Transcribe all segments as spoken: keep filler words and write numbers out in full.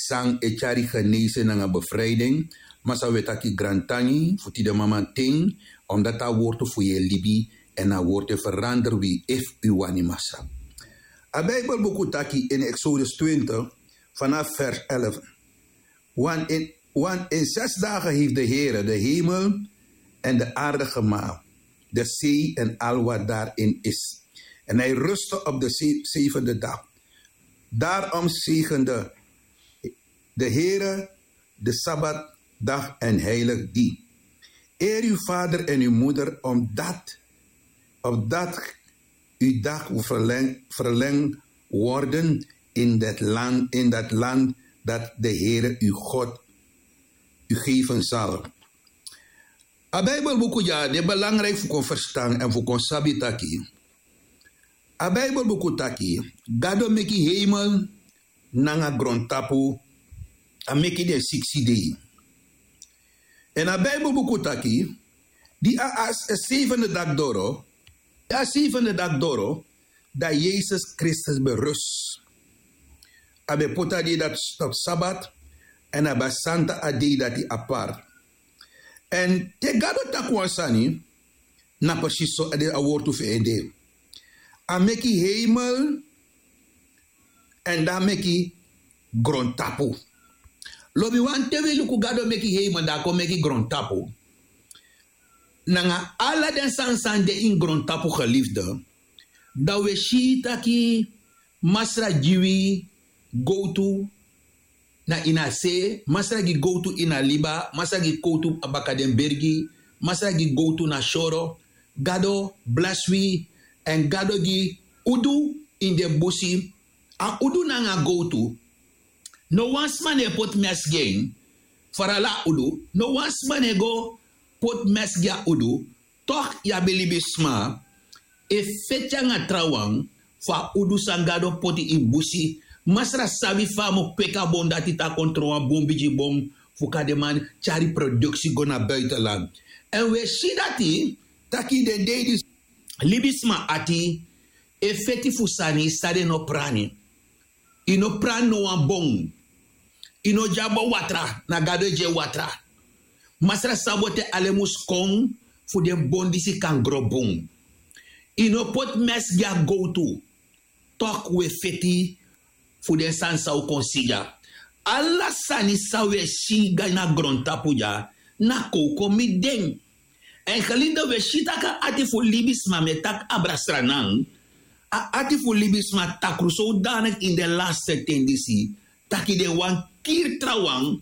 San e tyari genese nanga befrijding. Masa wi e taki grantangi fu tide mamanten, omdat a wortu fu yu e libi, en a wortu e verander wi efu yu wani masa. A bijbelbuku taki in exodus twintig, vanaf vers elf. Want in, want in zes dagen heeft de Heere de hemel en de aarde gemaakt, de zee en al wat daarin is. En hij rustte op de ze- zevende dag. Daarom zegende de Heere de Sabbatdag en heilig die. Eer uw vader en uw moeder, omdat, opdat uw dag verleng, verlengd worden in dat land, in dat land dat de Heere uw God u geven zal. A bijbelbuku dya de belangrijk fu kon verstaan en fu kon sabi taki. A bijbelbuku taki, Gado meki hemel nanga grontapu, a meki den siksi dei. En a bijbelbuku taki, di a, a, a zevende dag doro, di a zevende dag doro, dat Jezus Christus berust. A ben poti a dei dati op sabat, en a ben santa a dei dati apart. En te Gado taki wan sani, na precies so a de a wortu fu en de. A meki hemel, en dan meki grontapu. Lobi wan te wi luku Gado meki hemel, dan a kon meki grontapu. Nanga ala den sani san de ini grontapu, geliefde, dan wi e si taki Masra gi wi gowtu na ini a se, Masra gi gowtu ini a liba, Masra gi gowtu baka den bergi, Masra gi gowtu na soro. Gado blesi wi, en Gado gi udu ini den busi. A udu nanga gowtu, no wan sma no e poti mesi gi en. Farala a udu, no wan sma no e go poti mesi gi a udu. Toch yu abi libisma e feti nanga trawan fu a udu san Gado poti ini busi. Masra sabi fa a mu kweki a bon dati, te a kon tron wan bun bigi bon, fu kan den man tyari produksi go na buitenland. En wi e si dati, taki den dei disi libisma ati e feti fu sani san den no prani. Yu no prani no wan bon. Yu no gi a bon watra, na Gado e gi en watra. Masra sabi te alen mus kon fu den bon disi kan gro bun. Yu no poti mesi gi a gowtu. Toch wi e feti fu den sani san wi kon si dya. Ala sani san wi e si dya na grontapu dya, na kowkow miti den. En geliefde, wi e si tak' a ati fu libisma, mi e taki abra Sranan, a ati fu libisma takru sodanig ini den laste ten disi, taki den wani kiri trawan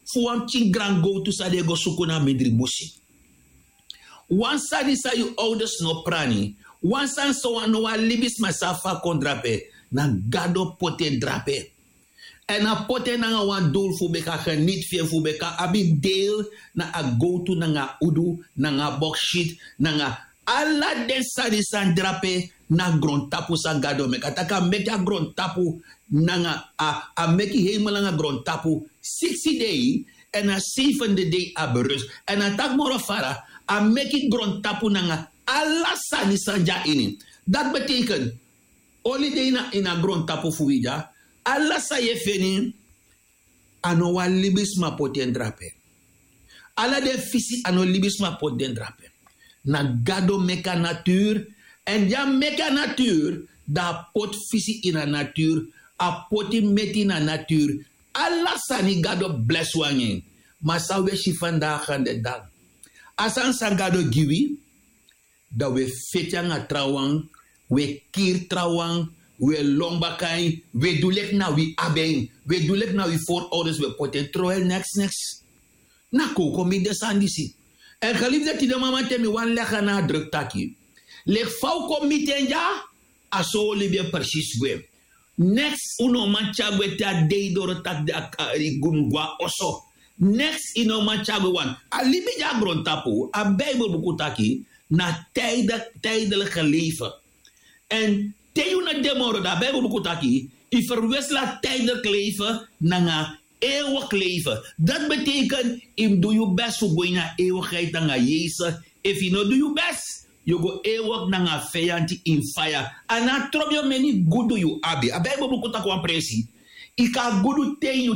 fu wan pikin grangow tu san den e go suku na mindri busi. Wan sani san yu owders no prani, wan sani san wan no wan libisma sabi fa a kon drape, na Gado poti en drape. Èn a poti en nanga wan dul fu ben kan geniti fu en, fu ben kan abi deel na a gowtu nanga a udu nanga a boksit nanga ala den sani san drape na grontapu san Gado meki. A taki a meki a grontapu nanga a, a meki heimel nanga grontapu siksi dei, èn a seiwende dei a berus. Èn a taki moro fara, a meki grontapu nanga ala sani san de na ini. Dati betekent, oli dei na ini a grontapu fu wi dya, ala san yu e feni, a no wan libisma poti en drape. Ala den fisi a no libisma poti den drape. Na Gado meki a natuur, èn di a meki a natuur, dan a poti fisi ini a natuur, a poti meti na natuur. Ala sani Gado blesi wi nanga en. Ma san wi e si vandaag de dag, a sani san Gado gi wi, dan wi e feti nanga trawan, wi e kiri trawan, wi e lon baka en, wi e du leki na wi abi en, wi e du leki na wi voorouders, wi e poti en, terwijl neks neks. Na kowkow miti den sani disi. Èn geliefde, tide mamanten mi wani leg a nadruk taki, leki fa un kon miti en dya, a so un libi e precies gwe. Neks un no man tyari gwe te a dei doro taki a, a, yu mus go na oso. Neks yu no man tyari gwe, want a libi dya na grontapu, a Bijbelbuku taki, na tijde-, tijdelijke leven. Èn te yu no de moro, dan a Bijbelbuku taki, yu verwissel a tijdelijk leven nanga eeuwig leven. Dati betekent, yu mus du yu best fu go ini a eeuwigheid nanga Yesus. Efu yu no du yu best, yu o go eeuwig nanga a feyanti ini faya. A no a trobi omeni gudu yu abi. A Bijbelbuku taki wan presi, yu kan gudu te ini yu